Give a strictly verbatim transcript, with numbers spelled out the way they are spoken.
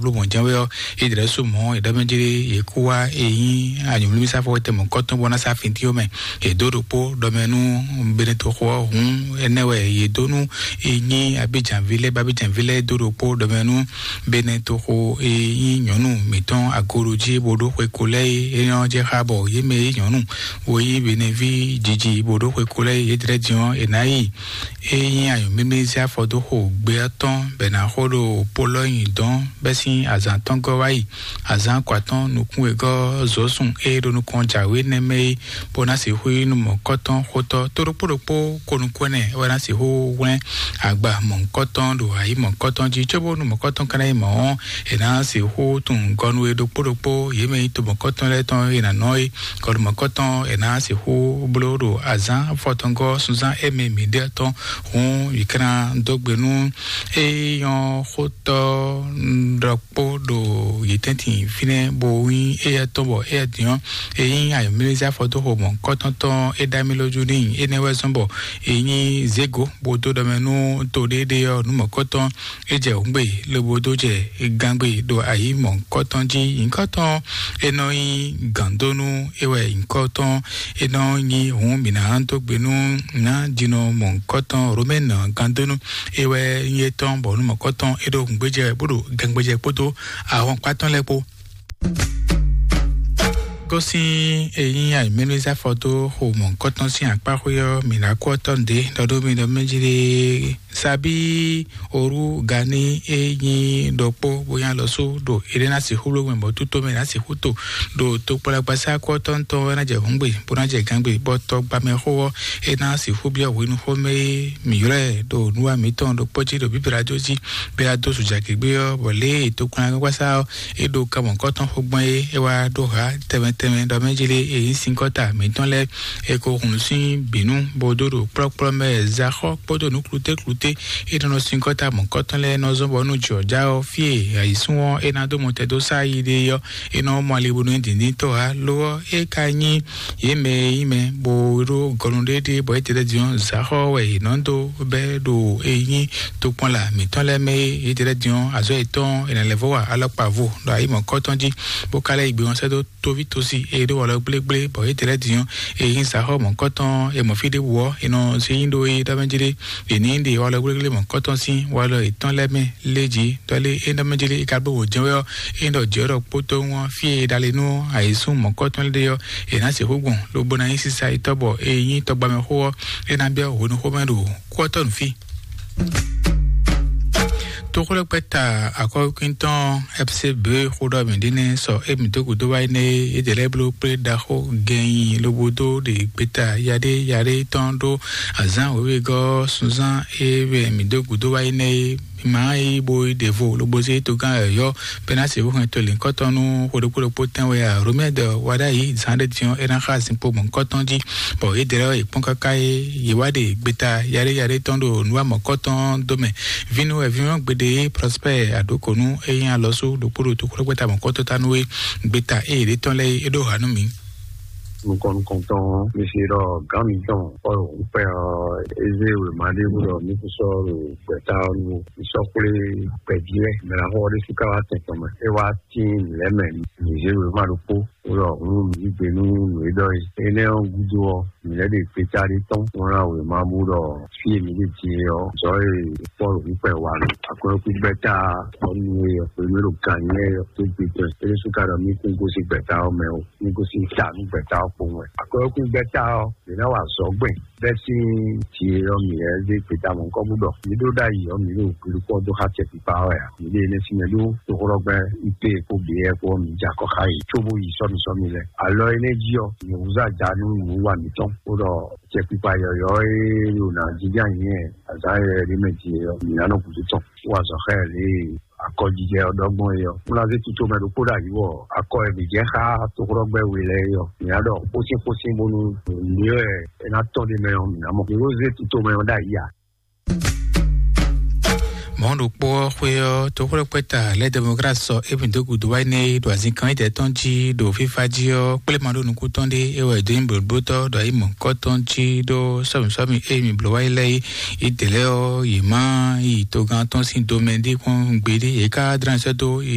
Bló mɔ̌ jɛ́n wɛ ɔ́, Idrɛ́su mɔ̌ è ɖɔ mɛ jlé yě kú wá e nyí anyǔmlímísáfɔ tɛmɔ̌kɔ́tɔn bɔ ná sá fintín ɔ́ mɛ. È dó ɖokpó ɖɔ mɛ nú Benetoxo ɔ́ hǔn énɛ́ wɛ yě dó nú e nyí Abidjanví lɛ́ɛ, bɔ Abidjanví lɛ́ɛ dó ɖokpó ɖɔ mɛ nú Benetoxo e nyí nyɔ̌nu mǐtɔn agoɖojí bó ɖó xwe ko lɛ́ɛ é. É nyɔ́ jɛ xá bɔ yě mɛ e nyí nyɔ̌nu bó yí Beneví jiji bó ɖó xwe ko lɛ́ɛ é. Yě dlɛ́ din ɔ́, è nǎ yi e nyí anyǔmímí zé afɔ dó xo gbe ɔ́ tɔn bɔ è nǎ xo ɖo Polɔ́nyi dɔn bɛ́ sín azǎn tɔn gɔ́ wá yi azǎn kɔ atɔn nukún wegɔ́ zɔ̌sun e ɖo nukɔn jǎwe nɛ́ mɛ é, bó ná sixú nyí nú mɔ̌kɔ́tɔn xótɔ́ tó ɖokpó ɖokpó ko nukún ɛnɛ wɛ ná sixú hwlɛ́n agba mɔ̌kɔ́tɔn ɖo ayǐ mɔ̌kɔ́tɔn jí, cóbónú mɔ̌kɔ́tɔn ka ná nyí mɔ̌ ɔ́, è nǎ sixú tunwun gɔnu e ɖokpó ɖokpó yě mɛ nyí to mɔ̌kɔ́tɔn lɛ́ɛ tɔn e nǎ nɔ é. Kɔɖu mɔ̌kɔ́tɔn è nǎ sixú bló ɖo azǎn fɔtɔngɔ́ sunzán émí mǐɖée tɔn hǔn yě ká ná dó gbe nú é nyɔ́ xótɔ́ ɖɔkpó ɖo yě tɛ́ntin fínɛ́ bó nyí éyɛ́ tɔn bɔ éyɛ́ din ɔ́, é nyí ayɔ̌mlélizá fɔdóxo mɔ̌kɔ́tɔn tɔn é ɖó amí lójú n'i. Énɛ́ wɛ zɔ́n bɔ é nyí zěgo bó dó ɖɔ mɛ nú to ɖéeɖée ɔ́, nǔ mɔ̌kɔ́tɔn é jɛ hǔngbe lobo dó jɛ gangbe ɖo ayǐ mɔ̌kɔ́tɔn jí. Nyǐkɔ́tɔn é nɔ nyí gǎndónú é wɛ nyǐkɔ́tɔn é nɔ nyí hǔn mǐ ná dó gbe nú ná jinɔ mɔ̌kɔ́tɔn Romɛ́nu gǎndónú é wɛ nyí étɔn bɔ nú mɔ̌kɔ́tɔn é ɖo hǔngbéjɛ bó ɖo gangbéjɛ kpódó ahɔnkpá tɔn lɛ́ɛ kpó. Gosín eyín àìmínúzáfɔ dó xo mɔ̌kɔ́tɔn sín akpáxwé ɔ́, mǐ ná kú ɔ́ tɔ́ nǔɖé ɖɔ ɖó mi ɖɔ mɛ jí ɖe. Sabí orú gani e nyí ɖokpó bóyá lɔ sú ɖo é ɖé ná sixú bló gbɛn bɔ tútó mɛ ná sixú to ɖo tokpɔlɛgbasá kú ɔ́ tɔn tɔn é ná jɛ hǔngbe bó ná jɛ gangbe bɔ tɔgbamɛxó ɔ́ é ná sixú byɔ́ hwenuxó mɛ e mǐ ylɔ́ ɛ ɖo nǔwa mǐtɔn ɖokpó jí ɖo bíblá jó jí bɛ adó sùjagěgbé ɔ́, bɔ lě e tokpɔnlagbagbasá ɔ́ é ɖo kamɔ̌kɔ́tɔn xo gbɔn é, é wá ɖó hǎ tɛnmɛ tɛnmɛ ɖɔ mɛ jí lé e nyí sinkɔ́ta mǐtɔn lɛ́ɛ. È ko hun sín bǐnú bó dó ɖo kplɔ́kplɔ́ mɛ zaxɔ kpódó nǔklutékluté. É nɔ nɔ sinkɔ́ta mɔ̌kɔ́tɔn lɛ́ɛ nɔ zɔ́n bɔ nú jɔ̌já ɔ́, fí e ayǐsún ɔ́ é ná dó mɔtɛn dó sá yi ɖe ɔ́, é nɔ mɔ ali bónú dǐndín tɔ́ ǎ. Lo ɔ́, é ka nyí yě mɛ e nyí mɛ bó ɖó gɔnu ɖéɖé bɔ é tɛ́ din ɔ́, zaxɔ wɛ è nɔ dó bɛ́ ɖo e nyí tokpɔnla mǐtɔn lɛ́ɛ mɛ é. É tɛ́ din ɔ́, azɔ̌ yětɔn è nǎ lɛ́ vɔ wa alɔkpa vo ɖo ayǐ mɔ̌kɔ́tɔn jí, bó ka lɛ́ yi gbe ɔ́ sɛ́ dó tóví tósi e ɖó walɔ gblégblé bɔ é tɛ́ din ɔ́, e nyí zaxɔ mɔ̌kɔ́tɔn e mɔ fí ɖěbǔ ɔ́, è nɔ zé nyí ɖó é ɖɔ mɛ jí ɖé. È ní ɖe walɔ gblégblé mɔ̌kɔ́tɔn sín walɔ yětɔn lɛ́ɛ mɛ lé jí ɖɔ lé é ɖɔ mɛ jí lé é ka ɖó wǒ jɛ́n wɛ ɔ́, é ɖɔ jɛ̌ ɖɔ kpótó ɔ́ fí e è ɖa le nú ayǐsún mɔ̌kɔ́tɔn lɛ́ɛ ɖe ɔ́, è nǎ sixú gbɔn lobo ná nyí sísá yětɔn bɔ e nyí tɔgbamɛxó ɔ́, é ná byɔ́ hwenuxó mɛ ɖo kú ɔ́ tɔ́ nǔ fí. Toxlɔ́gbɛ́ta akɔ́kíntɔn F C B xó ɖɔ mǐ ɖi nɛ́ sɔ émí dó gǔdo wá énɛ́ é, é ɖě lɛ́ɛ bló kplé ɖaxó gɛnyi lobo dó ɖe gbeta yaɖé yaɖé tɔn ɖó azǎn wěwegɔ́ sunzán é wɛ mǐ dó gǔdo wá énɛ́ é. Mǐ ma yí bo yi ɖe vo lobo zé togán yɔ̌yɔ́ bɛ́ ná sixú hɛn to lǐnkɔ́tɔn nú xwe ɖokpó ɖokpó tɛn wɛ a? Romɛ́ ɖɔ wa ɖ'ayǐ zǎn ɖé din ɔ́, é ná xá zinkpo mɔ̌hunkɔtɔn jí, bɔ yě ɖě lɛ́ɛ yě kpɔ́n káká é yě wá ɖe gbeta yaɖé yaɖé tɔn ɖo nǔ wa mɔ̌kɔtɔn dó mɛ. Vínú wɛ vínú gbeɖé Prospère Aɖokonu e nyí alɔsú ɖokpó ɖo toxóɖɔgbɛ́ta mɔ̌kɔtɔn ta nú é. Gbeta e yě ɖe tɔn lɛ́ɛ é ɖó ha nú mǐ. Nukɔn nukɔntɔn mi se ɖɔ gǎn mitɔn Pɔ́lu ŋkpɛ ɔ́, é zé wěma ɖé bó ɖɔ mí kún sɔ́ ɖo gbɛ̌ta ɔ́ nu ó. Mǐ sɔ́ xwlé gbɛ̌ví lɛ́ɛ, mɛ ná xɔ ɖésú ká wá tɛn tɔn mɛ. É wá tín mǐ lɛ́ɛ mɛ, mǐ zé wěma ɖokpó. Wulɔ hun yí gbe nú nǔ e ɖɔ é. Énɛ́ ɔ́ gúdo ɔ́, mǐ lɛ́ ɖe gbeta ɖé tɔn, bó ná wěma bú ɖɔ fí e mǐ ɖe din é ɔ́, zɔ̌ e Pɔ́lu ŋkpɛ wa nɔ akwɛ́núkúgbɛ́ta ɔ́ nu é ɔ́, hwenu e ɖo gan nyɛ é ɔ́, tó gbe tɔn é ɖésú ka ɖɔ mí kún gosín gbɛ̌ta ɔ́ mɛ ó, mí gosín ta nú gbɛ̌ta ɔ́ kpowun wɛ. Akwɛ́núkúgbɛ́ta ɔ́, mǐ ná wa azɔ̌ gbɛn bɛ́ sín jǐ e ɔ́, mǐ lɛ́ zé gbeta mɔ̌hunkɔ bú ɖɔ mǐ ɖó ɖ'ayǐ ɔ́, mǐ ɖo gbiɖukpɔ́ dó xá acɛkpikpa ɔ́ wɛ ǎ. Mǐ ɖe énɛ́ sín mɛ ɖó toxóɖɔgbɛ́ ite kpó běyɛ kpó ɔ́, mǐ jɛ akɔ xá yě cóbó yi sɔ́mì sɔ́mì lɛ́ɛ. Alɔ énɛ́ jí ɔ́, mǐ húzú aja nú nǔwiwa mǐtɔn, bó ɖɔ acɛkpikpa yɔ̌yɔ́ e ɖo nǎ jínjɔ́n ayǐ nyi azǎn yɔ̌yɔ́ ɖé mɛ din é ɔ́, mǐ ná nɔ gǔdo tɔn, bó wa azɔ̌ xá ɛ lě e akɔjijɛ ɔ́ ɖɔ gbɔn é ɔ́. Bó ná zé tito mɛ ɖokpó ɖo ayǐ wɔ akɔ e mǐ jɛ xá toxóɖɔgbɛ́ we lɛ́ɛ é ɔ́, mǐ ná ɖɔ xósín xósín bónú nǔ e wɛ é ná tɔ́n ɖ'é mɛ ɔ́, mǐ ná mɔ. Mǐ ko zé tito mɛ ɔ́ ɖo ayǐ ǎ. Mɔ̌ ɖokpó ɔ́ xwé ɔ́, toxóɖɔkpɛ́ta lɛ́ Democrate sɔ émí dó gǔdo wá énɛ́ e ɖo azinkan étɛ́ tɔn jí ɖo fífá jí ɔ́, kplé ma ɖó nukún tɔn ɖé é wɛ dó nyí blǒblótɔ́ ɖo ayǐ mɔ̌kɔ́tɔn jí ɖó sɔ́mǐsɔ́mǐ e mǐ bló wá yi lɛ́ɛ é. Yi dě lɛ́ɛ ɔ́, yě má yi togán tɔn sín domɛ ɖé kpɔ́n gbeɖé, yě ká dlán sɛ́ dó yě